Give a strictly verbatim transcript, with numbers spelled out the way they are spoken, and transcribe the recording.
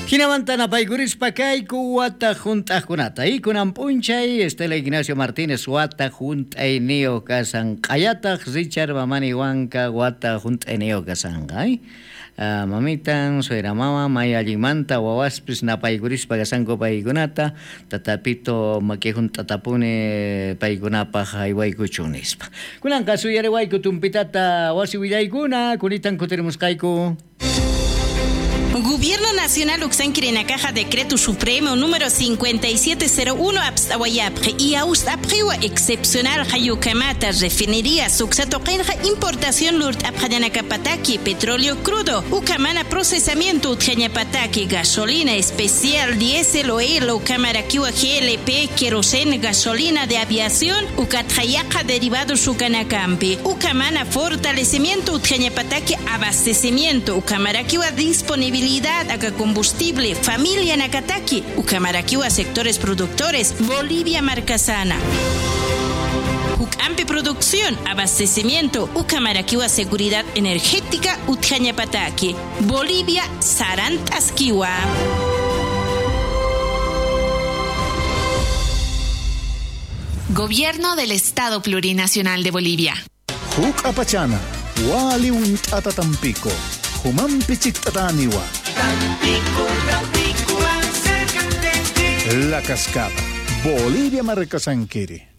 Hinamanta napaykurispa kayku wata hunt'aqkunata. Y kunan p'unchay Estela Ignacio Martínez wata hunt'ayniyuq kasan. Q'ayataq Richard Mamani Huanca wata hunt'ayniyuq kasanqa. ¿Eh? Uh, mamitan, suegra mama, may allinmanta wawaspis napaykurispa kasanku paykunata, tatapito maki hunt'atapuni paykunapaq haywaykuchun nispa. Kunanqa suyariwayku tumpitata wasi willaykuna, kunitan kutirimusqayku. Gobierno Nacional Uxanquirenacaja Decreto Supremo número cincuenta y siete cero uno Abstawayapje y Austapjiwa excepcional Hayukamata refinería Suxatoqenja importación Lurt Abjayanacapataki petróleo crudo Ucamana procesamiento Utjañapataki gasolina especial diésel oil Ucamarakiwa G L P querosén gasolina de aviación Ucatjayaca derivados Ucanacampi Ucamana fortalecimiento Utjañapataki abastecimiento Ucamarakiwa disponibilidad acá combustible, familia Nakataki, Ucamaraquiwa sectores productores, Bolivia Marcasana. Ucampe producción, abastecimiento, Ucamaraquiwa seguridad energética, Utjañapataki, Bolivia Sarantasquiwa. Gobierno del Estado Plurinacional de Bolivia. Jucapachana, Wali Untatatampico. Humampichiktataniwa. Tampico, Tampico, acércate. La Cascada, Bolivia Marcasanquiri.